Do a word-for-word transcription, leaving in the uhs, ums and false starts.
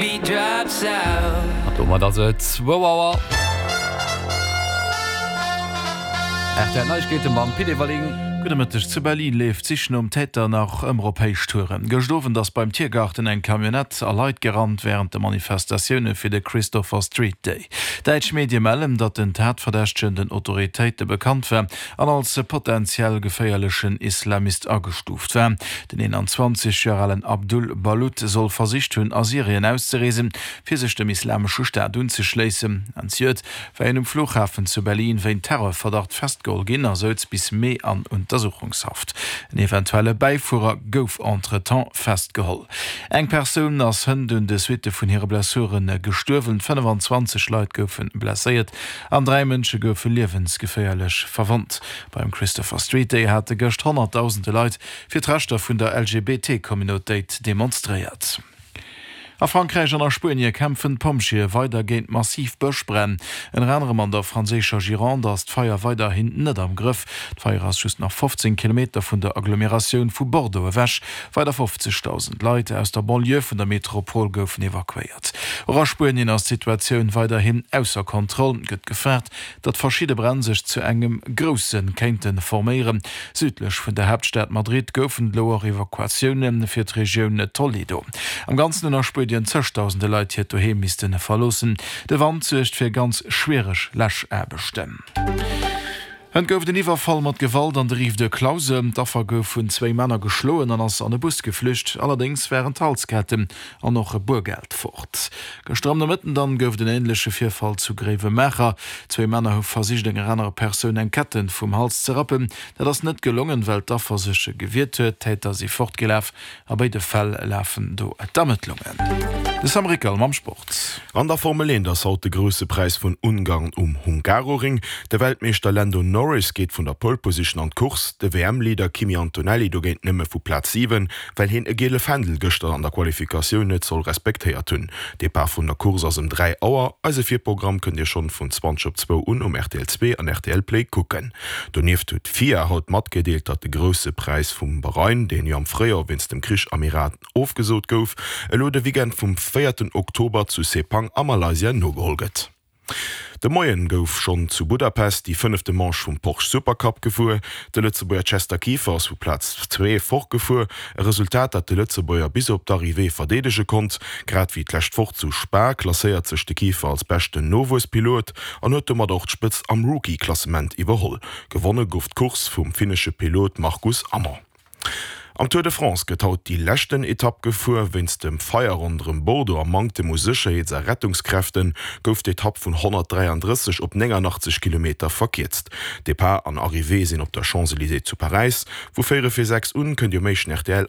beat drops out. An domat ass et zwou Auer. R T L Neiegkeete mam Pit Everling. Gudde Mëtteg. Zu Berlin leeft d'Sich nom Täter nach ëmmer op Héichtouren. Gëscht Owend ass beim Tiergarten eng Camionnette a Leit gerannt wärend de Manifestatioune fir de Christopher Street Day. Däitsch Medie mellen, datt den Tatverdächtegen den Autoritéite bekannt war an als potentiell geféierlechen Islamist agestuuft war. Den eenanzwanzeg Joer alen Abdul Balut soll versicht hunn, a Syrien auszereesen, fir sech dem Islamesche Staat unzeschléissen. Anziert war hien um Flughafen zu Berlin wéint Terrorverdacht festgeholl ginn a souz bis Mee an Untersuchungshaft. En eventuelle Bäifuerer gouf entretemps festgeholl. Eng Persoun ass hënt un de Suitte vun hire Blessuren gestuerwen, fënnefanzwanzeg Leit goufe blesséiert an dräi Mënsche goufe liewensgeféierlech verwonnt. Beim Christopher Street Day hate gëscht honnertdausende Leit fir d'Rechter vun der L G B T-Communautéit demonstréiert. A Frankräich an a Spuenie kämpfen d'Pompjeeë weider géint massiv Bëschbränn. Ënner anerem an der franséischer Gironde ass d'Feier weiderhin net am Grëff. D'Feier ass just nach fofzéng Kilometer vun der Agglomeratioun vu Bordeaux ewech. Weider fofzegdausend Leit aus der Banlieue vun der Metropol goufen evakuéiert. Och a Spuenien ass d'Situatioun weiderhin ausser Kontroll. Et gëtt gefaart, datt verschidde Bränn sech zu engem grousse kéinte forméieren. Südlech vun der Haaptstad Madrid goufen et elo och Evakuatioune fir d'Regioun Toledo. Am Ganzen hunn a Spuenien zëgdausende Leit hiert Doheem misste verloossen. De Wand suergt fir ganz schwiereg Läschaarbechten. Hënt gouf et en Iwwerfall mat Gewalt an der Rive de Clause. D'Affer gouf vun zwéi Männer geschloen an ass an e Bus geflücht. Allerdéngs waren d'Halsketten an och e Boergeld fort. Gëschter am Nomëtten dann gouf et en änleche Virfall zu Gréiwemaacher. Zwéi Männer hu versicht enger anerer Persoun eng Ketten vum Hals ze rappen. Dat ass net gelongen, well d'Affer sech gewiert huet. D'Täter si fortgelaf. A béide Fäll lafen do d'Ermëttlungen. De Sam Rickel mam Sport. An der Formel eent ass haut de Grousse Präis vun Ungarn um Hungaroring. De Weltmeeschter Lando Norris geet vun der Pole Position an d'Course, de W M-Leader Kimi Antonelli dogéint nëmme vu Plaz siwen, well hien e giele Fändel gëschter an der Qualifikatioun net soll respektéiert hunn. Depart vun der Course ass ëm dräi Auer. Eise Virprogramm kënnt Dir schonn vun zwanzeg op zwou un um R T L zwee an R T L Play kucken. Donieft huet d'FIA haut matgedeelt, datt de Grousse Präis vum Bahrain, deen jo am Fréijoer wéinst dem Krich am Iran ofgesot gouf, elo de Weekend vum véierten Oktober zu Sepang a Malaysia nogeholl gëtt. De Moien gouf schonn zu Budapest déi fënnefte Manche vum Porsche Supercup gefuer. De Lëtzebuerger Chester Kieffer ass vu Plaz zwee fortgefuer, e Resultat, dat de Lëtzebuerger bis op d'Arrivée verdeedege konnt. Grad wéi d'lescht Woch zu Spa klasséiert sech de Kieffer als beschten Nowuesspilot an huet domat och d'Spëtzt am Rookie-Klassement iwwerholl. Gewonne gouf d'Course vum finnesche Pilot Marcus Amon. Am Tour de France gëtt haut déi leschten Etapp gefuer. Wéinst dem Feier ronderëm Bordeaux a Manktem u Sécherheets a Rettungskräfte gouf d'Etapp vun honnertdräiandrësseg op néngannachtzeg Kilometer verkierzt. Depart an Arrivée sinn op der Champs-Élysées zu Paräis. Vu véierel vir sechs un kënnt Dir um éischten R T L